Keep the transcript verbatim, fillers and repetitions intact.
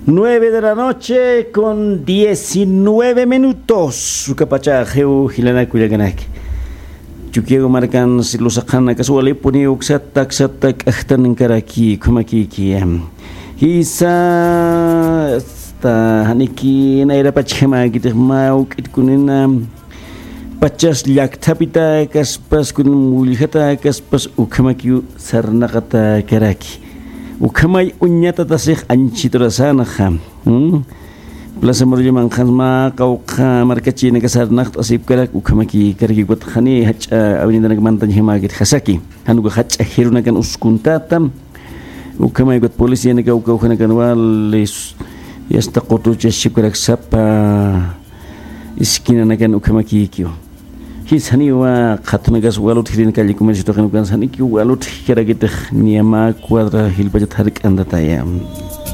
Nueve de la noche con diecinueve minutos. Ukapacha jew jilanaku llakanaki. Chukiyagu markan silusaqanakas walipuni uksata aksata k'ajtankaraki ukhamakiki. Jisa asta janiki nayrapachjama kitix ma uk'itkunina. Pachas llakthapita kaspas kunan mulljata kaspas ukhamakiw sarnaqata karaki. Ukhamay uñatatasix anchiturasanxa. Plaza Murillo manqhansma qawqha markachinaka sarnaqt'asipkarak ukhamaki karaki ukatxani jach'a avenidanak mantañjamakit jasaki. Januka jach'a jirunakan uskuntata. Ukhamay ukat policianaka ukawjanakan walis yasta qutuchasipkarak sapa esquinanakan ukhamakikiw. Jis janiwa qhatunakas walutjirin calle comercio tuqin ukansa janiki walutjkarakitix niyama cuadra jilpachat jark'antataya.